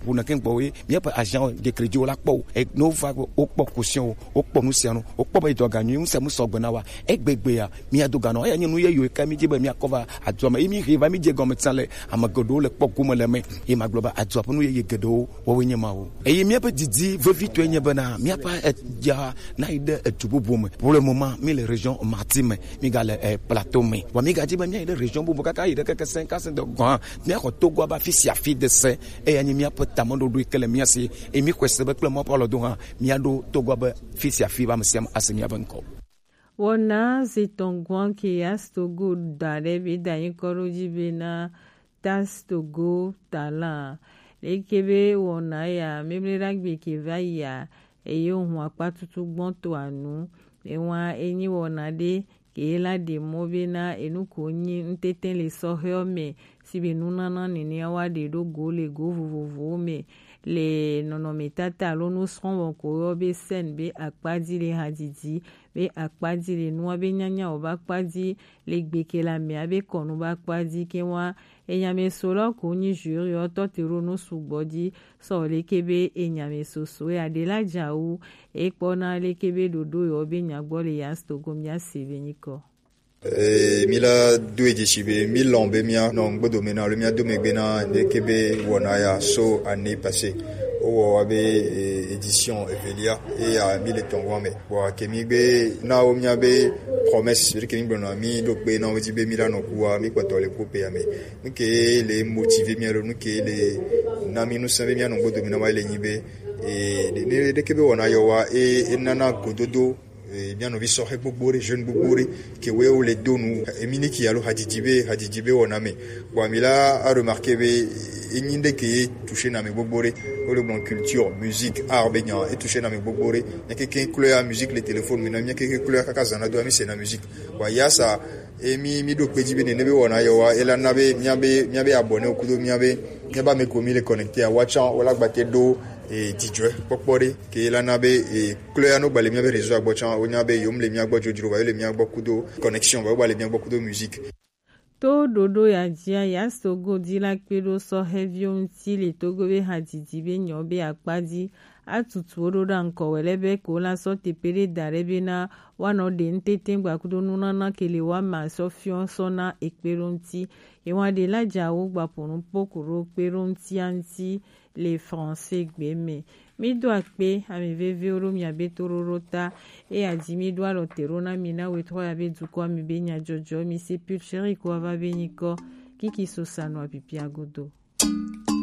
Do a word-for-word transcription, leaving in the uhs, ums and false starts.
Wona ke gbɔ ye, míaƒe agent de crédit wo la kpɔ o. E, ne wova, wokpɔ caution o, wokpɔ nu sia nu, wokpɔ be dɔga nyui, nu sia nu sɔgbe na wa. Egbegbea, míado ga nɔ. Eya nye nu yeye yi ke mídi be míakɔ va adua me. Eye míhe va mídze gɔme tsã le ame geɖewo le kpɔ gome le eme. Eye magblɔ be adua ƒe nu yeye geɖewo woawoe nye mawo. Eye míaƒe didi vevitɔe nye bena míaƒe edza nayi ɖe edu bubu me. Pour le moment, míle région Mati me, mígale, eh, Plateau me. Vɔ mígadzi be míayi ɖe région bubu kaka yi ɖe keke sẽŋ kasẽ de gɔ̃ hã, míaxɔ Togoa be afi sia afi de se. Eya nye míaƒe tameɖoɖo yi ke le mía si. Eye míxɔe se be kple Mawu ƒe alɔdo hã, míaɖo Togoa be afi sia afi be ame sia ame ase míaƒe ŋkɔ. Wɔna zi etɔ̃ gɔ̃ ke Yastogo da ɖe be da nyikɔ ɖo dzi bena Tastogo Talent. Leke be wɔna ya, Memleɖagbe ke va yia, eye wohu akpatutu gbɔtɔa nu. Ewa enyi wɔna ɖe ke la ɖe mɔ bena enu ko nyi ŋutete le sɔhɛɔ me, si be nunana nenea wa ɖe ɖo go le go vovovowo me le nɔnɔmetata alo nusrɔ̃wɔn ko yɔ be scène be akpadzi le hadzidzi, be akpadzi le nua be nyanya wɔ be akpadzi le gbeke le amea be kɔnu be akpadzi ke wa. Enyamɛso lɔ ko nyi jury ɔ tɔ te ɖo nu sugbɔ dzi sɔ leke be enyamɛso so ya ɖe la dza wu. Ekpɔna leke be ɖoɖo yɔ be nya gbɔ le Yastogo mía se be nyikɔ. Ee, mi la do edzi si be mi lɔn be mia nɔ ŋgbedo me na alo mia do megbe na leke be wɔna ya so année passée. Wowɔ wa be, eh, édition evelia, eya mi le tɔn wa me. Bon, ke mi gbe na wo mia be promesse, ke mi gblɔ na mi ɖo kpe na wo dzi be mi la nɔ ku wa, mi kpɔtɔ le ku pe ya me. Nu ke le motiver mi alo nu ke le na mi nu sã be mia nɔ ŋgbedo me na wa le nyi be, eh, ɖe, ɖe, ɖeke be wɔna yɔ wa, e, e nana gododo, eh, mia nɔvi sɔhɛ gbogbo ɖe, jeune gbogbo ɖe, ke wo le do nu, eh, mi ni ki alo hadidi be, hadidi be wɔna me. Bon, mi la a remarquer be, eh, enyi ɖe ke toucher na me gbogbo ɖe. Wo le gblɔ culture, musique, art be nya, e toucher na me gbogbo ɖe. Mia keke klɔ ya musique le téléphone me na, mia keke klɔ ya kaka zana do, mi se na musique. Bon, ya sa, e mi, mi ɖo kpe dzi be nene be wɔna yɔ wa, e la na be, mia be, mia be abonné wo kudo, mia be, mia ba me ko mi le connecté a, wa tsã, wo la gbate ɖo, eh, dzidzɔe kpɔkpɔ ɖe, ke la na be, eh, klɔ ya no gba le mia be réseau a gbɔ tsã, wo nya be yom le mia gbɔ dzodzro, va yo le mia gbɔ kudo connexion, va yo gba le mia gbɔ kudo musique. To ɖoɖo ya dzia, Yastogo di la kpe ɖo sɔhɛviwo ŋuti le Togo be hadidi be nyɔ be akpa dzi. Atutu wo ɖo ɖa ŋkɔ wɛ lɛ be ko la sɔ tepe ɖe da ɖe be na wa nɔ ɖe ŋtete gba kudo nunana ke le wa ma sɔ fiɔ sɔ na ekpe ɖo ŋuti. Ewa ɖe la dza wo gba ƒo nu po ku ɖo kpe ɖo ŋutia ŋuti le français gbe me. Mi do akpe, ame veviwo ɖo mia be toɖoɖo ta. Eya dzi mi ɖo alɔ te ɖo na mi na wetrɔ ya be dukɔ mi be nyadzɔdzɔ mi se pil chéri ko ava be nyikɔ. Kiki so sa nɔ apipia godo.